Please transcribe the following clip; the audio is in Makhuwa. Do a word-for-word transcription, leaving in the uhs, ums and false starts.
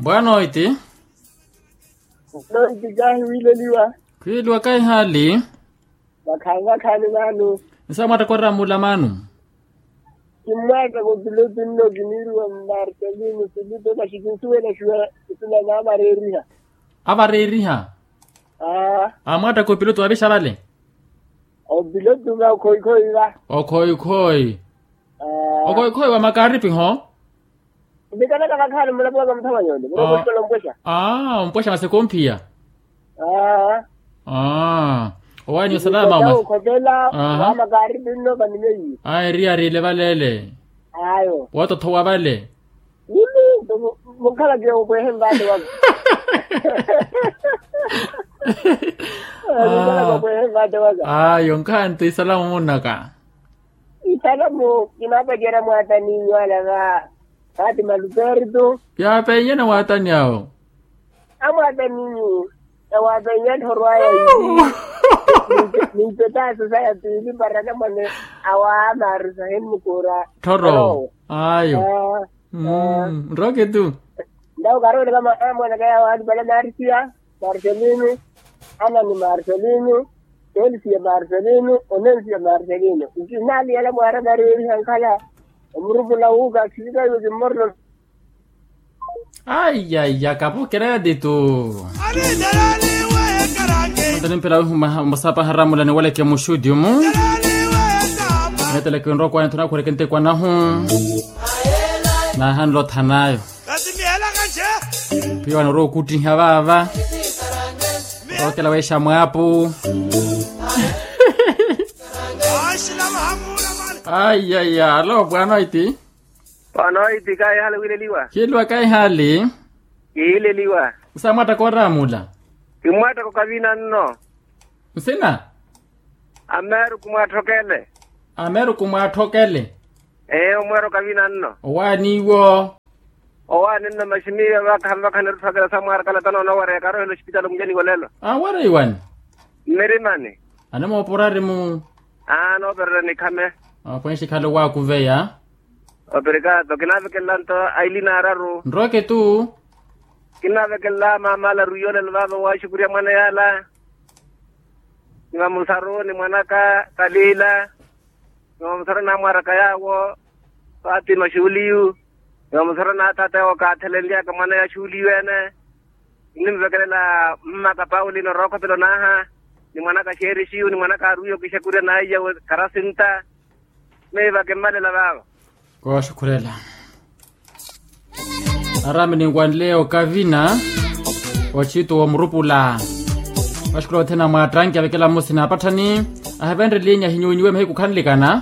Wanoiti. Wanoiti kahi wileliwa. Khwiliwa kahi hali. Vakhaani vakhaani maanu. Nsa mwattakora mula maanu. Kimmwaattaka opiloto nno kiniiriwa martelino filipe masi kinsuwela shuwa. Isina na avareriha. Avareriha. Aa. Amwaattaka opiloto wavixa vale. Opiloto va okhoikhoi va. Okhoikhoi. Okhoikhoi wa makaripi ho. Vikanaka vakhaani mulapo waka muthamanyoni mulapo ompwexa. Aa ompwexa masi ekomphiya. Aa. Owaani osalama. Okhopela. Wa makaripi nno vanimeiye. Aa eriyari ile vale ele. Ayo wootothowa vale. Mimi mukhalake opwehe mvaate waka. Mukhalake opwehe mvaate waka. Ayo nkhanto isalamu munnaka. Isalamu kinaapacera mwaataninyu ala va. Fatima luperto. Yaapenyana mwaatani awo. Amwaataninyu. Ewaapenyana thorwaya. Ninpetaso saya piili para namwane. Awa marusa hemmukuura. Thoro. Ayo. Nroke tu. Ndawo karoole kama amwanaka yawo ali pala narisiya. Marcelino. Anani marcelino. Elsia marcelino onensia marcelino. Nkinaliyala mwaara kareeriha nkhala. Omurupula wuuka akhilika iwe kimmorelo. Aiyaiya kapukereya titu. Ntani mpela wihu mwasapaha ramulani waleke muxuti omu. Neteleke nrokwani thuna khureke ntekwa nahu. Nahanle othanayo. Piwani orowa okuttiha vaava. Orokela weexa mwaapu. Aiyaiya alo bwanoiti. Bwanoiti kaihali wileliwa. Khiliwa kaihali. Kiileliwa. Nsa mwaattaka oramula. Kimwaattaka okavina nno. Nsina. Ameeruku mwaattokele. Ameeruku mwaattokele. Ee omweera okavina nno. Owaani iwo. Owaani nno masi miyo vakha vakha nirutthookela samwaara kalata noona owareya karohela osipitali omulyani wolelo. Awareiwani. Mmirimani. Anamooporari mu. Aa noopererya nikhame. Apwenxi khale owaakuveya. Operekato kinaavekelela nto aili naararu. Nroke tu. Kinaavekelela maama ala arwiya olelo vaava owaaxukurya mwana yaala. Ni vamusaru ni mwanaka kalila. Ni vamusaru namwaaraka yaawo. Fatima xuliyu. Ni vamusaru na atata yawo kaathelenlyaka mwana ya xuliyu ene. Kinimvekelela mmaka paulino rookhopelo naaha. Ni mwanaka xeerixiyu ni mwanaka arwiya okixakurya naiya karasinta. Miiva kimmalela vaava. Kooxukhurela. Araami ninwanle okavina. Ochitu womurupula. Waxukhula othena mwaattanki avekela mmusi naapatthani. Ahivenrelinya hinyuwinyiwe mahiku khanlikana.